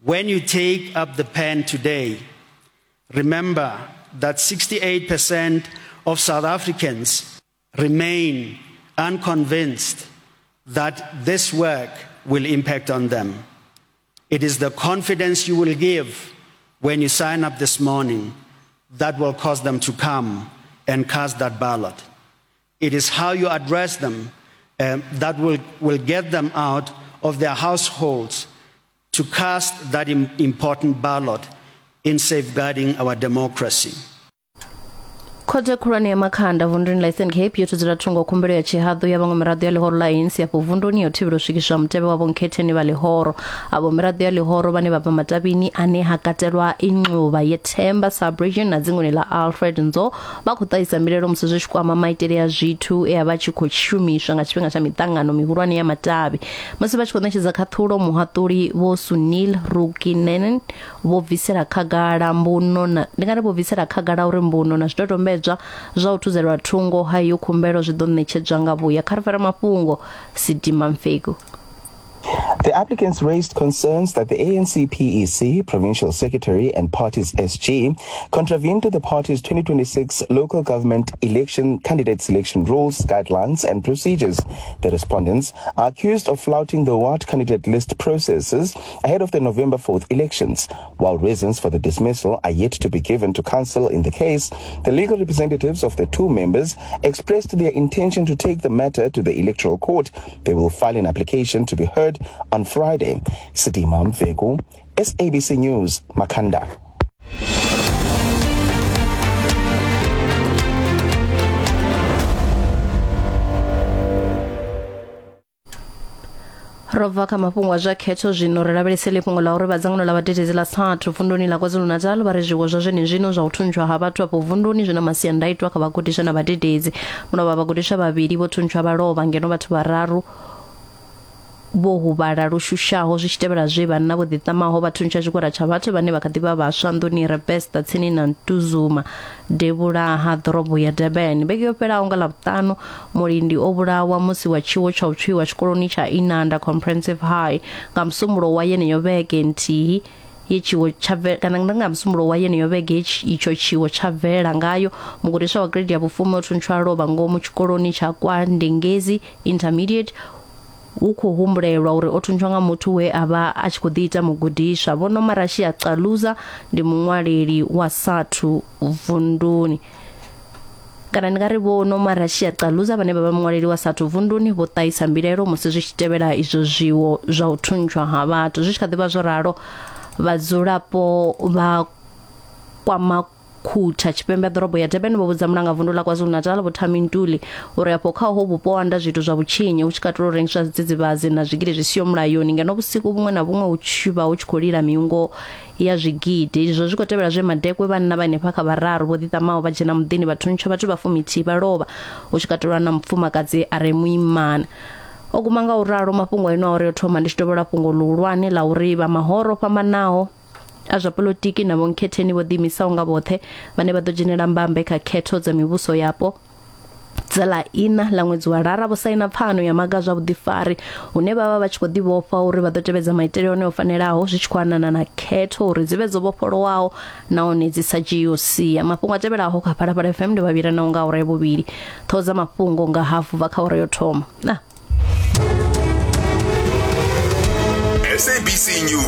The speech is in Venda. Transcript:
When you take up the pen today, remember that 68% of South Africans remain unconvinced that this work will impact on them. It is the confidence you will give when you sign up this morning that will cause them to come and cast that ballot. It is how you address them that will get them out of their households to cast that important ballot in safeguarding our democracy. Khothe khulwane ya Makhanda vunduni ḽa Eastern Cape yo thudzela thungo khumbelo ya tshihaḓu ya vhaṅwe miraḓo ya ḽihoro ḽa ANC afho vunduni ya u thivhela u swikiswa mutevhe wa vhonkhetheni vha ḽihoro. Avho miraḓo ya ḽihoro vhane vha bva matavhini ane ha katelwa Inxuba yeThemba sub-region na dzinguni ḽa Alfred Nzo vha khou ṱahisa mbilaelo musi zwi tshi kwama maitele a zwithu e a vha tshi khou shumiswa nga tshifhinga tsha miṱangano mihulwane ya matavhi. Musi vha tshi khou ṋetshedza khaṱhulo, muhaṱuli Vho Sunil Rukminen vho bvisela khagala mbuno na ndi nga ri vho bvisela khagala uri mbuno na zwidodombedzwa zwa u thuzelwa thungo ha iyo khumbelo zwi ḓo ṋetshedzwa nga vhuya. Kha ri fare mafhungo Sidima Mfeku. The applicants raised concerns that the ANC PEC, Provincial Secretary and party's SG contravened the party's 2026 local government election candidate selection rules, guidelines and procedures. The respondents are accused of flouting the ward candidate list processes ahead of the November 4th elections. While reasons for the dismissal are yet to be given to counsel in the case, the legal representatives of the two members expressed their intention to take the matter to the Electoral Court. They will file an application to be heard on Friday. Sidima Mvego, SABC News, Makanda. Ro bva kha mafhungo a zwa khetho zwino ri lavhelese ḽifhungo ḽa uri vha dzangano ḽa vhadededzi ḽa SATU vunduni ḽa KwaZulu-Natal vha ri zwiwo zwa zwenezwino zwa u thuntshwa ha vhathu afho vunduni zwi na masiandaitwa kha vhagudiswa na vhadededzi. Mulovha vhagudiswa vhavhili vho thuntshwa vha lovha ngeno vhathu vhararu vho huvhala lu shushaho zwi tshi tevhela zwe vhanna vho ḓiṱamaho vha thuntsha tshigwada tsha vhathu vhane vha kha ḓi vha vhaswa nḓuni i re Bester tsini na Ntuzuma devhula ha ḓorobo ya Durban. Vhege yo fhelaho nga Ḽavhuṱanu, mulindi o vhulawa musi wa tshiwo tsha u tswiwa tshikoloni tsha Inanda Comprehensive High nga Musumbulowo wa yeneyo vhege nthihi ye tshiwo tsha bve, kana nga Musumbulowo wa yeneyo vhege ye itsho tshiwo tsha bvelela ngayo. Mugudiswa wa grade ya vhufumi o thuntshwa a lovha ngomu tshikoloni tsha kwa Ndengezi Intermediate Hu khou humbulelwa uri o thuntshwa nga muthu we a vha a tshi khou ḓiita mugudiswa. Vho Nomarashiya Caluza ndi muṅwaleli wa SATU vunduni. Kana ndi nga ri Vho Nomarashiya Caluza vhane vha vha muṅwaleli wa SATU vunduni vho ṱahisa mbilaelo musi zwi tshi tevhela izwo zwiwo zwa u thuntshwa ha vhathu. Zwi tshi kha ḓi vha zwo ralo, vhadzulapo vha kwama Khutha, tshipembe ha ḓorobo ya Durban vho vhudza mulangavundu ḽa KwaZulu-Natal Vho Thami Ntuli uri afho kha uho vhupo ho anda zwiito zwa vhutshinyi hu tshi katela u rengiswa zwidzidzivhadzi na zwigili zwi siho mulayoni ngeno vhusiku vhuṅwe na vhuṅwe hu tshi vha hu tshi khou lila miungo ya zwigidi. Izwo zwi khou tevhela zwe madekwe vhanna vha henefha kha vhararu vho ḓiṱamaho vha dzhena muḓini vha thuntsha vhathu vha fumithihi vha lovha hu tshi katelwa na mufumakadzi a re muimana. O guma nga u ralo mafhungo eno a uri yo thoma ndi tshi tovhola fhungo ḽihulwane ḽa uri vha mahoro o fhambanaho a zwa polotiki na vhonkhetheni vho ḓiimisaho nga vhoṱhe vhane vha ḓo dzhenela mbambe kha khetho dza mivhuso yapo dza ḽa iṋa ḽa ṅwedzi wa Lara vho saina pfano ya maga a zwa vhuḓifari hune vha vha vha tshi khou ḓivhofha uri vha ḓo tevhedza maitele one o fanelaho zwi tshi khou anana na khetho uri dzi vhe dzo vhofholowaho nahone dzi sa dzhiiho sia. Mafhungo a tevhelaho kha Phalaphala FM ndi vhavhila nao nga awara ya vhuvhili. Ṱhoho dza mafhungo nga hafu bva kha awara yo thoma. Na. SABC News.